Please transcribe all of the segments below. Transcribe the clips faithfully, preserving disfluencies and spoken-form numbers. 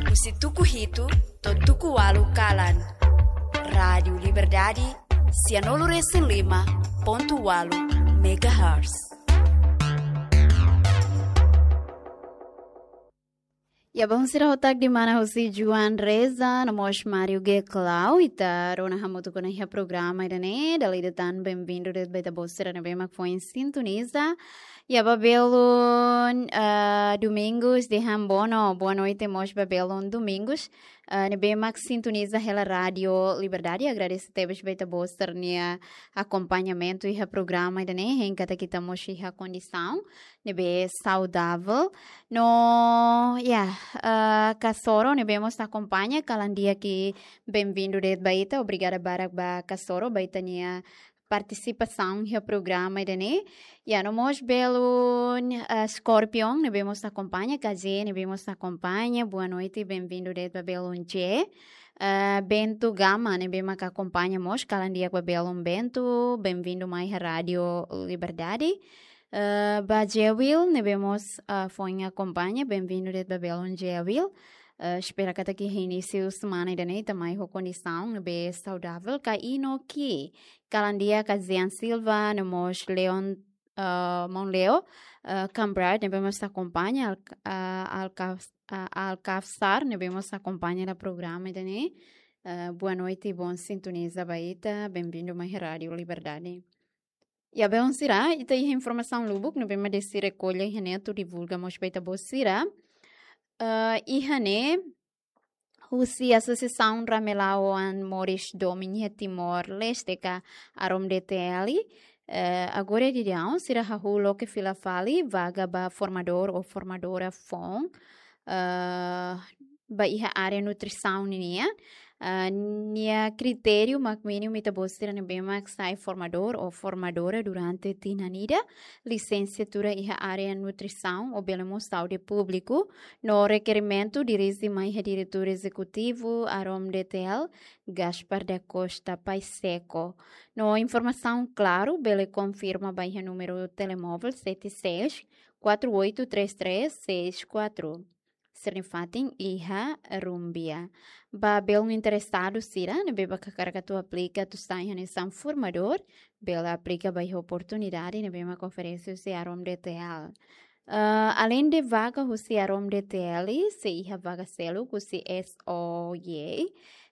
Husi tuku hitu to'o tuku ualu kalan. Rádiu Liberdade, sianulu resin lima pontu ualu megahertz. Ya, bom, sira hotu di'ak, ida-ne'e husi Joan Reza, no mós Mario Geklau, ita rona hamutuk ona iha programa ida-ne'e, dala ida tan bem-vindo de'it ba ita-boot sira ne'ebé mak foin sintoniza. Ya, ba belun, ah, Domingos de Hambono, boa noite mós ba belun Domingos, ah, ne'ebé mak sintoniza hela Rádiu Liberdade, agradese tebes ba ita-boot sira-nia akompañamentu iha programa ida-ne'e, hein katak ita mós iha kondisaun ne'ebé saudavel. No, ya, ah, Kasoro ne'ebé mós akompaña, kalan di'ak, bem-vindo de'it ba ita, obrigada barak ba Kasoro, ba ita-nia partisipasaun iha programa ida-ne'e. Ya, no mós belun, ah, Scorpion ne'ebé mós akompaña, K J ne'ebé mós akompaña, boa noite, bem-vindo de'it ba belun J. Ah, Bento Gama ne'ebé mak akompaña mós, kalan di'ak ba belun Bento, bem-vindo mai iha Rádiu Liberdade. Ah, ba Jewil ne'ebé mós, ah, foin akompaña, bem-vindo de'it ba belun Jewil. Ah, espera katak iha inísiu semana ida-ne'e ita mai ho kondisaun ne'ebé saudavel. Ka Inoki, kalan di'ak, Kazian Silva, no mós Leon, ah, maun Leo, ah, Kambrad ne'ebé mós akompaña, Al-, ah, Alkaf-, ah, Alkafsar ne'ebé mós akompaña hela programa ida-ne'e. Ah, boa noite, bom sintoniza ba ita, bem-vindo mai Rádiu Liberdade. Ya, belun sira, ita iha informasaun lubuk ne'ebé mak desi rekolla iha ne'e atu divulga mós ba ita-boot sira. Ah, iha ne'e, husi Asosiasaun Ramelau oan moris domin iha Timor-Leste ka AROM-DTL, eh, agora daudaun sira hahú loke fila fali vaga ba formadór ou formadora foun, eh, ba iha área nutrisaun ninian. Eh, nia kritériu mak mínimu ita-boot sira ne'ebé mak sai formadór ou formadora durante tinan ida, lisensiatura iha área nutrisaun ou bele mós saúde públiku, no rekerimentu dirije mai iha Diretór Ezekutivu AROM-DTL, Gaspar da Costa Pacheco. No informasaun klaru bele konfirma ba iha númeru telemóvel sete seis quatro oito três três seis quatro. Sira-nia fatin iha Rumbia. Ba belun interesadu sira ne'ebé mak hakarak atu aplika atu sai hanesan formadór, bele aplika ba iha oportunidade ne'ebé mak oferese husi AROM-DTL. Ah, aleinde vaga husi AROM-DTL, sei iha vaga seluk husi S O Y.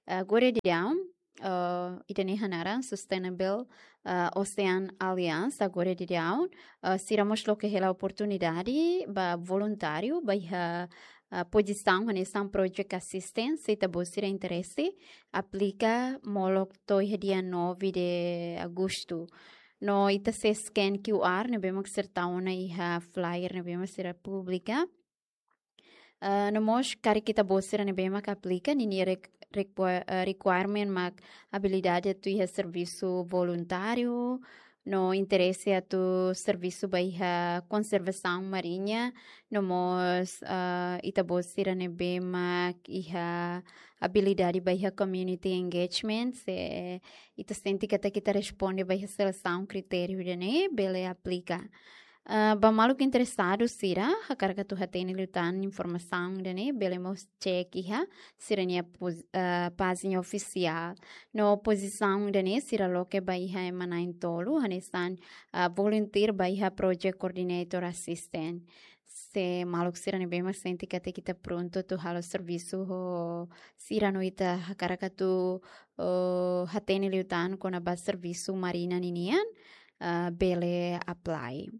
Ah, agora daudaun, ah, ida-ne'e hanaran Sustainable, ah, Ocean Alliance, agora daudaun, ah, sira mós loke hela oportunidade ba voluntáriu ba iha, ah, pozisaun hanesan project assistant, se ita-boot sira interese, aplika molok to'o iha dia nove de agosto. No ita sei scan Q R ne'ebé mak sira tau ona iha flyer ne'ebé mak sira publika. Ah, no mós karik ita-boot sira ne'ebé mak aplika, ninia rek-, requa-, ah, requirement mak abilidade atu iha servisu voluntáriu, no interese atu servisu ba iha konservasaun mariña, no mós, ah, ita-boot sira ne'ebé mak iha abilidade ba iha community engagement, se ita sente katak ita responde ba iha selesaun kritériu ida-ne'e, bele aplika. Ah, ba maluk interesadu sira, hakarak atu hatene liután informasaun ida-ne'e, bele mós cek iha sira-nia poz-, ah, pájina ofisiál. No pozisaun ida-ne'e sira loke ba iha ema na'in-tolu, hanesan, ah, volunteer ba iha project coordinator assistant. Se maluk sira ne'ebé mak sente katak ita prontu atu halo servisu ho sira no ita hakarak atu, oh, hatene liután kona-ba servisu mariña ninian, ah, bele apply.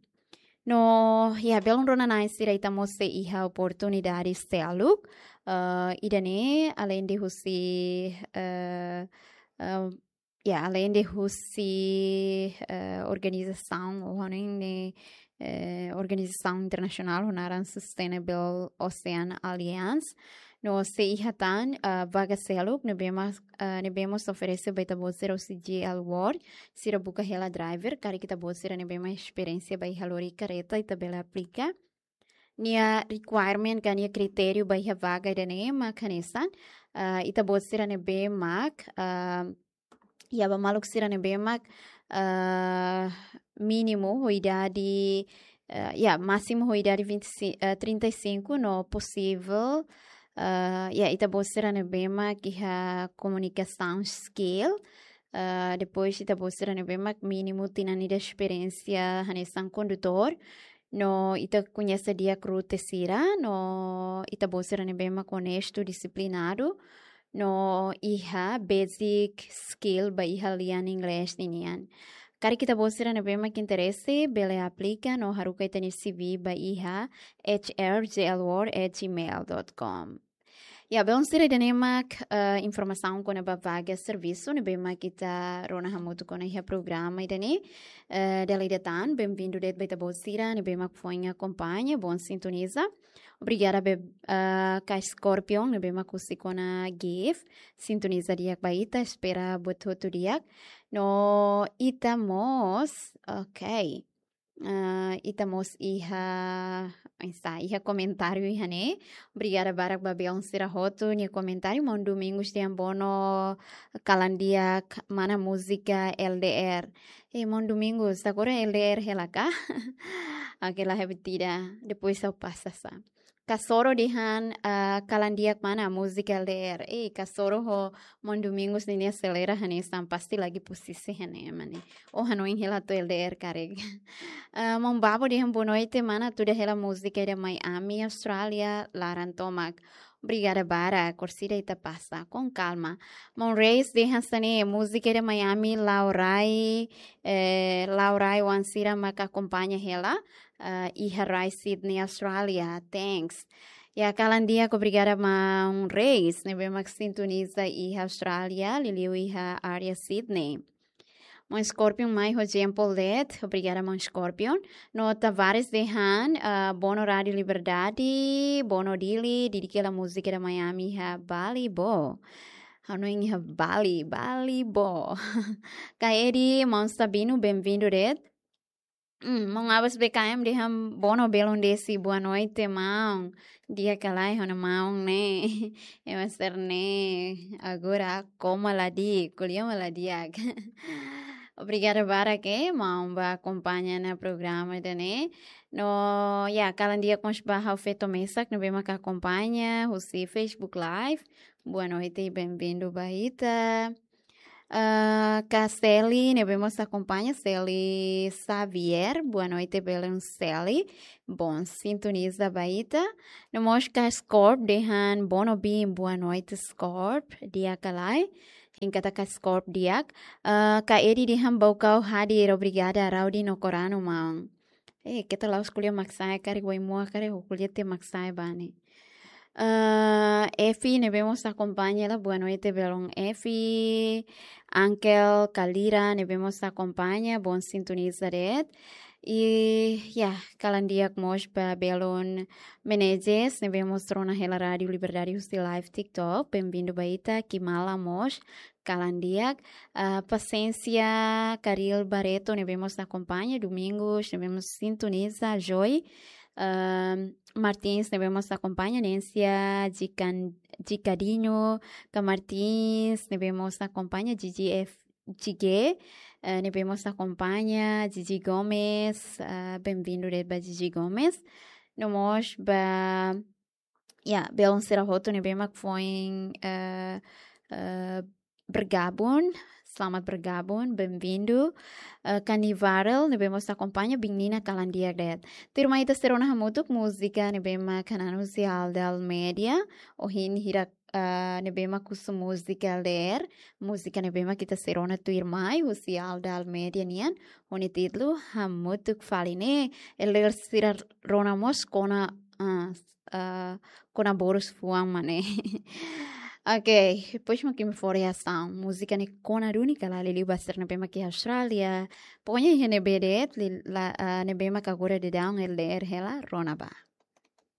No, ya, belun rona-na'in sira, ita mós sei iha oportunidade seluk, ah, ida-ne'e aleinde husi, ah, ah, ya, aleinde husi, eh, organizasaun, ou hanoin ne'e, eh, organizasaun internasionál ho naran Sustainable Ocean Alliance. No sei iha tan, ah, vaga seluk ne'ebé mak, ah, ne'ebé mós oferese ba ita-boot sira husi G L World, sira buka hela driver, karik ita-boot sira ne'ebé mak esperiénsia ba iha lori kareta, ita bele aplika. Nia requirement ka nia kritériu ba iha vaga ida-ne'e mak hanesan, ah, ita-boot sira ne'ebé mak, ah, ya, ba maluk sira ne'ebé mak, ah, mínimu ho idade, ah, ya, másimu ho idade vinte e cinco, ah, trinta e cinco, no posivel, Ah, ya, ita-boot sira ne'ebé mak iha komunikasaun skill. Ah, depois ita-boot sira ne'ebé mak mínimu tinan ida esperiénsia hanesan kondutór. No ita koñese di'ak rute sira, no ita-boot sira ne'ebé mak onestu, disiplinadu, no iha basic skill ba iha lian inglés ninian. Karik ita-boot sira ne'ebé mak interese, bele aplika no haruka ita-nia C V ba iha H R J L world at gmail dot com. Ya, belun sira, ida-ne'e mak, eh, informasaun kona-ba vaga servisu ne'ebé mak ita rona hamutuk ona iha programa ida-ne'e. Eh, dala ida tan, benvindu de'it ba ita-boot sira ne'ebé mak foin akompaña, bom sintoniza. Obrigada ba, eh, ka Scorpion ne'ebé mak husik ona gift, sintoniza di'ak ba ita, espera buat hotu di'ak. No ita mós, ok. Ah, ita mós iha, oinsá, iha komentáriu iha ne'e. Obrigada barak ba belun sira hotu nia komentáriu. Maun Domingos dehan Bono kalan di'ak mana múzika L D R. Eh, maun Domingos, agora L D R hela ka? Oke, la hebat tidak. Depois ha'u pasa sá. Kasoro dehan, ah, kalan di'ak mana múzika L D R. Eh, kasoro ho maun Domingos ninia selera hanesan pasti lagi posisi hanesan ne'e. Ou hanoin hela atu L D R karik. Ah, maun Babo dehan boa noite mana, tuda hela múzika ida Miami, Austrália, laran tomak. Obrigada barak, orsida ita pasa, com calma. Maun Reis dehan hanesan ne'e, múzika ida Miami, la'o rai, eh, la'o rai oan sira mak akompaña hela, ah, iha rai Sydney, Austrália. Thanks. Ya, kalan di'ak, obrigada maun Reis ne'ebé mak sintoniza iha Austrália, liuliu iha área Sydney. Maun Scorpion mai ho jempol de'it, obrigada maun Scorpion. No Tavares dehan, ah, Bono Rádio Liberdade, Bono Dili, didik hela múzika ida Miami iha Bali, bo. Hanoin iha Bali, Bali, bo. Ka Edi, maun Sabino, benvindu de'it. Hmm, maun Abbas B K M dehan Bono belun desi, boa noite maun. Di'ak ka lae ha'u-nia maun ne'e. Ema sira ne'e agora koma la di'ak, ko'alia mak la di'ak. Obrigada barak, eh, maun ba akompaña ona programa ida-ne'e. No, ya, kalan di'ak mós ba ha'u feto mesak ne'ebé mak akompaña husi Facebook Live. Boa noite, benvindu ba ita. Ah, ka Seli ne'ebé mós akompaña, Seli Xavier, boa noite belun Seli, bom sintoniza ba ita. No mós ka Scorp dehan Bono bin, boa noite Scorp, di'ak ka lae, hein katak ka Scorp di'ak. Ah, ka Edi dehan Baucau hadir, obrigada Raudi no Corano maun. Eh, keta la'ós ko'alia mak sa'e karik, wai moa karik ho ko'alia tiha mak sa'e ba ne'e. Ah, Efi ne'ebé mós akompaña hela, boa noite belun Efi. Uncle Kalira ne'ebé mós akompaña, bom sintoniza de'it. I, ya, kalan di'ak mós ba belun Menezes ne'ebé mós rona hela Rádio Liberdade husi live TikTok. Benvindu ba ita, Kimala mós kalan di'ak. Ah, Pasiénsia, Karil Barreto ne'ebé mós akompaña, Domingos ne'ebé mós sintoniza, Joy, ah, Martins ne'ebé mós akompaña, Nencia, Jikan, Jikadinho, ka Martins ne'ebé mós akompaña, G G F, G G, eh, ne'ebé mós akompaña, Gigi Gomes, ah, benvindu de'it ba Gigi Gomes. No mós ba, ya, belun sira hotu ne'ebé mak foin, eh, eh, bergabung, selamat bergabung, benvindu. Eh, Carnival ne'ebé mós akompaña, bin Nina kalan di'ak de'it. Tuirmai ita sei rona hamutuk múzika ne'ebé mak hanan husi Alda Almeida, ohin hirak, eh, ne'ebé mak husu múzika L D R, múzika ne'ebé mak ita sei rona tuirmai husi Alda Almeida nian, ho nia títulu Hamutuk Fali ne'e, L D R sira rona mós kona, ah, ah, kona-borus fuan mak ne'e. Ok, depois mak imi fó reasaun. Múzika ne'e kona duni ka lae, liuliu ba sira ne'ebé mak iha Austrália. Pokoknya iha ne'ebé de'it, li-, la, ah, ne'ebé mak agora daudaun L D R hela, rona bá.